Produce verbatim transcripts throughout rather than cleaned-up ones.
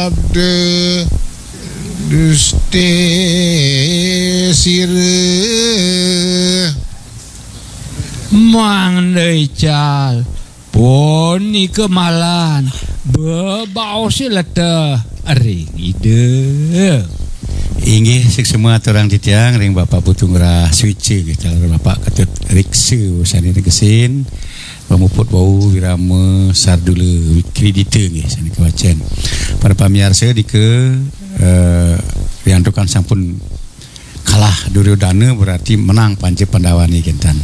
Sabda duste sira. Mangda ical punika malan bebaos leteh ring Ida. Inggih, suksma aturang titiang ring Bapak Putu Ngrah Swica, nggih, taler Bapak Ketut Riksa sane negesin, pamuput wau wirama sardula wikridita, nggih, sane kawacen. Para pamiarsa, dika, eh, riantukan sampun kalah Duryodana, berarti menang Panca Pandawane, kenten.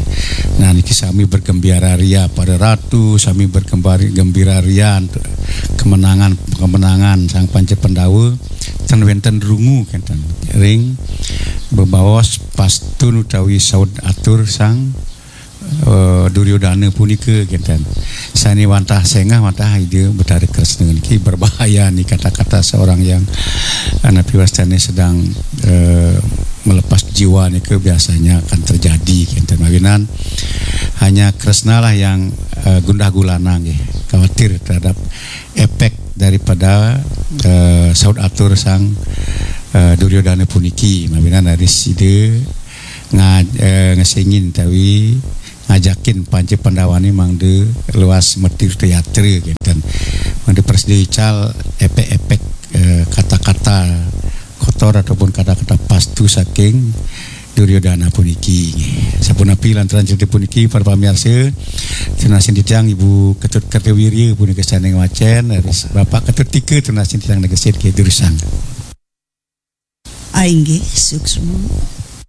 Nah, niki sami bergembira ria para ratu, sami bergembira ria kemenangan, kemenangan Sang Panca Pandawa, ten wenten rungu, kenten, ring bebaos pastun utawi saud atur Sang, eh, Duryodana punika, kenten. Sane wantah sengah, wantah Ida Betara Kresna niki berbahaya nih, kata-kata seorang yang, eh, napi wastane sedang, eh, melepas jiwa nika biasanya akan terjadi, kenten. Mawinan hanya Kresna lah yang, eh, gundah gulana nggih, khawatir terhadap efek daripada, eh, saud atur Sang, eh, Duryodana puniki. Mawinan raris Ida nga-, eh, ngesengin utawi ngajakin Panca Pandawane mangda luas matirta yatra, kenten. Mangda prasida ical efek-efek, eh, kata-kata kotor ataupun kata-kata pastu saking Duryodana puniki. Sapunapi lantaran cerita puniki, para pamiarsa, tunasin titiang Ibu Ketut Kertawirya punika sane ngwacen, raris Bapak Ketut Tika tunasin titiang negesin, nggih, durusang. Ah, inggih, suksma.